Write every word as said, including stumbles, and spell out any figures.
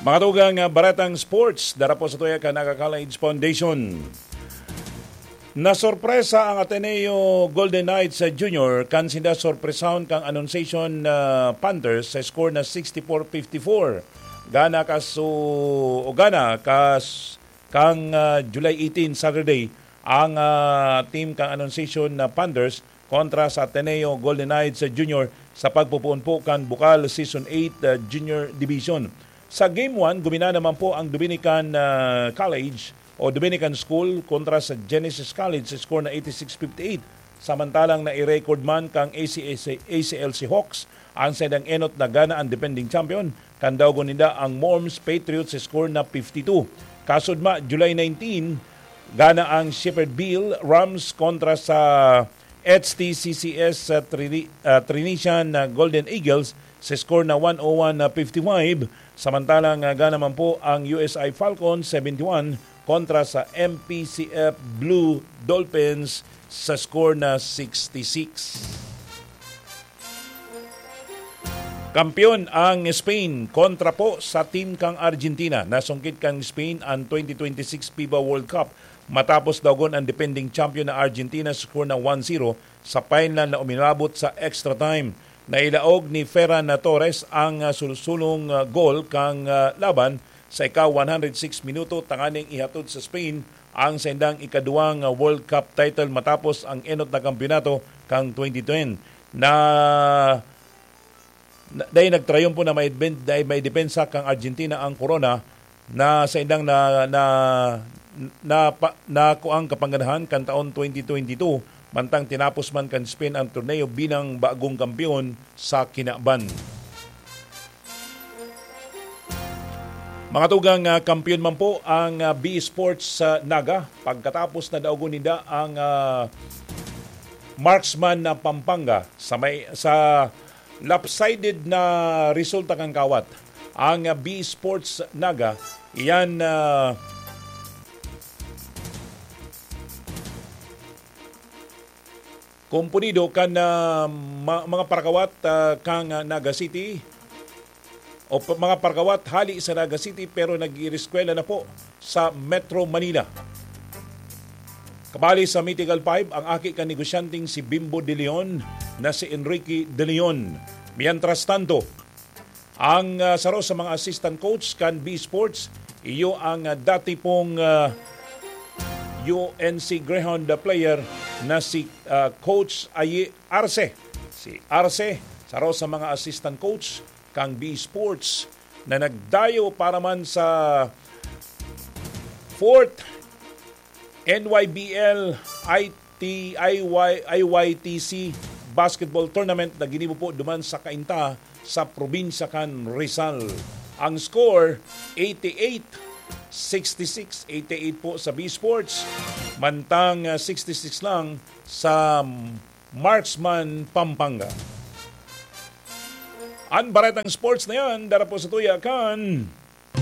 Mga tugang, ah, baretang sports, dara po sa tuya kan Naga College Foundation. Nasorpresa ang Ateneo Golden Knights sa Junior kan sinda sorpresahon kang Annunciation, ah, Panthers sa score na sixty-four fifty-four. Gana kas-, o gana kas-, kang, ah, July eighteen, Saturday, ang, ah, team kang Annunciation na Panthers kontra sa Ateneo Golden Knights Junior sa pagpupuon po kan Bukal Season eight, ah, Junior Division. Sa Game one, gumina naman po ang Dominican, ah, College o Dominican School kontra sa Genesis College sa score na eighty-six fifty-eight. Samantalang nai-record man kang A C S, A C L C Hawks ang saindang enot na gana ang defending champion, kan daogon ninda ang Morms Patriots sa score na fifty-two. Kasudma, July nineteen, gana ang Shepherd Bill Rams kontra sa H T C C S sa Trini-, ah, Trinitian na Golden Eagles sa score na one oh one fifty-five. Samantalang, ah, gana man po ang U S I Falcons seventy-one kontra sa M P C F Blue Dolphins sa score na sixty-six. Kampiyon ang Spain kontra po sa team kang Argentina. Nasungkit kang Spain ang twenty twenty-six fifa World Cup matapos daogon ang defending champion na Argentina sa score na one zero sa final na uminabot sa extra time. Nailaog ni Ferran Torres ang, ah, sulsulong, ah, gol kang, ah, laban sa ika-one hundred six minuto tanganing ihatod sa Spain ang saindang ikaduwang, ah, World Cup title matapos ang enot na kampiyonato kang twenty ten. Na, na, dahil nagtrayumpo na may, dahil may depensa kang Argentina ang korona na saindang na, na, na, pa, nakuang kapangganahan kan taon twenty twenty-two, mantang tinapos man kan Spain ang torneo bilang bagong kampiyon sa kinaban. Mga tugang, ah, kampiyon man po ang, ah, B Sports sa Naga pagkatapos na daogon ninda ang, ah, Marksman na Pampanga sa may, sa lopsided na resulta kan kawat. Ang, ah, B Sports Naga, iyan, ah, komponido kan, ah, ma-, mga parakawat, ah, kang, ah, Naga City o pa-, mga parakawat hali sa Naga City pero nag-iireskwela na po sa Metro Manila. Kabali sa Mythical Five, ang aki kan negosyanteng si Bimbo de Leon na si Enrique de Leon. Mientras tanto, ang, ah, saro sa mga assistant coach kan B Sports, iyo ang, ah, dati pong, ah, U N C Greyhound player na si, ah, Coach Ayi Arce. Si Arce, saro sa mga assistant coach kan B Sports na nagdayo para man sa fourth N Y B L I T I Y, I Y T C basketball tournament na ginibo po duman sa Cainta sa probinsya kan Rizal. Ang score, eighty-eight sixty-six, eighty-eight po sa B Sports, mantang, ah, sixty-six lang sa Marksman, Pampanga. Ang baretang sports na yan, dara po sa tuya kan